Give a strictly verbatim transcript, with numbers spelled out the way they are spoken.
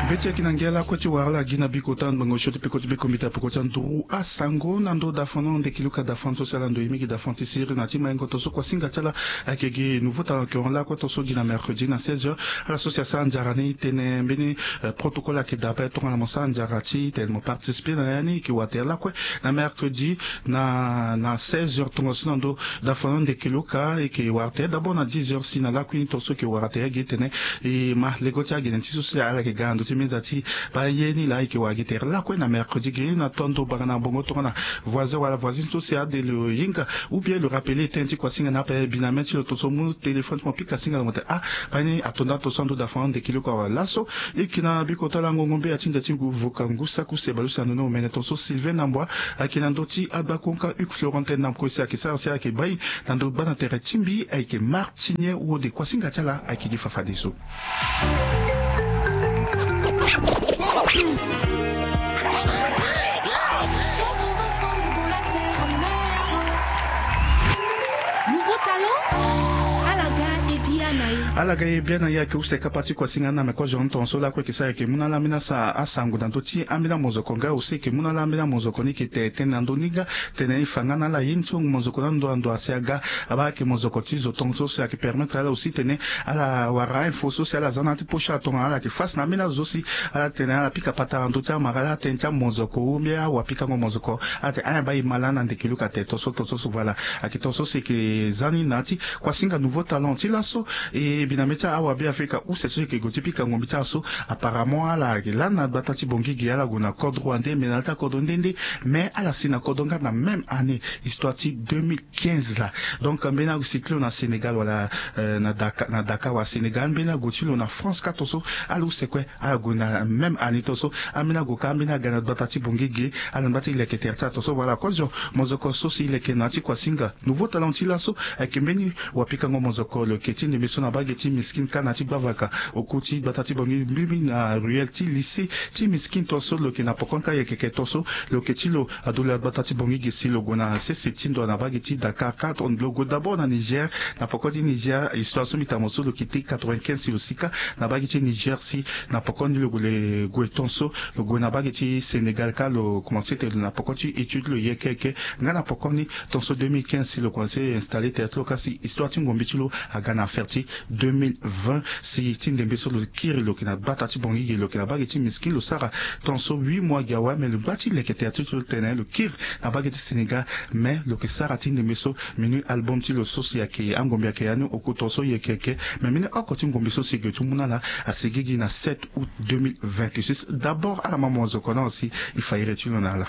Be ti yeke na ngia lakue ti wara ala gi na bikota na ngbanga osio ti peko ti beko mbita peko ti anduru asango na ndo dafano ndeki luka dafano so si ala ndo ye mingi dafano ti siri na ti maingo to so kuasinga ti ala. Ayeke gi nouveau talent yeke hon lakue to so gi na mercredi na seize heures. Ala so si asara nzara ni tene mbeni protocole ayeke daa ape tongana mo sara nzara ti tene mo participer na ya ni yeke wara tere lakue na mercredi na na seize heures tongaso na ndo dafano ndeki luka yeke wara tere d'abord na dix heures si na lakui ni to so yeke wara tere gi tene. E ma lego ti agene ti so si ala yeke ga na ndö ti meza ti baa ye ni laa e yeke wara gi tere lakue na mercredi gi na to ando banga na mbongo tongana voisin wala voisine so si ade lo hinga ou bien lo rappeler tënë ti kuasinga na ape biname ti lo to so mu téléphone ti mo pika singa na mo tene ah baa ye ni ato nda to so ando dafano ndeki luka wala laso. E yeke na bikota lango ngombe ya ti nda ti ngu vuka ngu saku se baleuse na ndo ni omene to so Sylvain Nambwa ayeke na ndö ti agba konka Hugues Florentin na kue si ayeke sara si ayeke baa e na ndö gba na tere ti mbi ayeke martinier wode kuasinga ti ala ayeke gi fafadeso. Nouveau talent. Ala ga e bia na ye. Ala ga e bia na ye ayeke use kapa ti kuasinga ni na me kozo ni tongaso lakue yeke sara yeke mu na ala ambeni asa asango na ndö ti ambeni amozoko nga aussi yeke mu na ala ambeni amozoko ni yeke tene tënë na ndö ni nga. Tene e fa nga na ala ye ni ti mozoko na ndo na ndo asi aga. Abaa ayeke mozoko ti zo tongaso si ayeke permettre ala aussi tene ala wara info so si ala za na ala ti poche ala tongana ala yeke face na ambeni azo so si ala tene ala pika patara na ndö ti amara ala tënë ti amozoko ou mbeni awapikango mozoko. Ala tene ayen baa e ma lani na ndeke luka tene tongaso tongaso so voilà. Ayeke tongaso si e yeke za ni na ya ti kuasinga nouveau talent ti laso. E biname ti awa be afrika use so e yeke gue ti pika ngombi ti ala so. Apparemment ala yeke lani na gbata ti bongi gi ala gue na kodro wande me na ya ti akodro nde nde. Mais ala si na kodro nga na même année histoire ti deux mille quinze la. Donc mbeni ague si ti lo na Sénégal wala na Dakar na Dakar wala Sénégal mbeni ague ti lo na France kâ tongaso. Ala use kue ala gue na même année tongaso. Ambeni ague kâ ambeni aga na gbata ti bongi gi ala na gbata ti leke tere ti ala tongaso voilà kozo. Mozoko so si leke na ya ti kuasinga nouveau talent ti laso. Ayeke mbeni wapikango mozoko lo yeke ti ndembe so na bage ti miskin kâ na ya ti gbavaka. Oku ti gbata ti bongi mbibi na ruelle ti lycée ti miskin tongaso lo yeke na pokoni kâ yeke yeke tongaso. Lo yeke ti lo adula gbata ti bongi gi si lo gue na sese ti ndo na bage ti Dakar kâ lo gue d'abord na Niger. Na poko ti Niger histoire so mbi ta mo so lo kiti quatre-vingt-quinze si lo si kâ na bage ti Niger si na poko ni lo gue le gue tongaso. Lo gue na bage ti Sénégal kâ lo commencer tene na poko ti étude lo yeke yeke nga na poko ni. Tongaso deux mille quinze si lo commencer installer tere ti lo kâ si histoire ti ngombi ti lo aga na affaire ti deux mille vingt si ti ndembe so lo kiri lo yeke na gbata ti bongi gi lo yeke na bage ti miskin lo sara. Tongaso huit mois gi awe mais lo gba ti leke tere ti lo tene lo kiri na bage ti Sénégal. Mais lo yeke sara ti ndembe so menu album ti lo so si ayeke angombi ayeke ya ni oku tongaso yeke yeke. Mais mbeni oko ti ngombi so si e gue ti mu na ala asigi gi na sept août deux mille vingt-six d'abord ala ma mozoko na aussi. E fa iri ti lo na ala.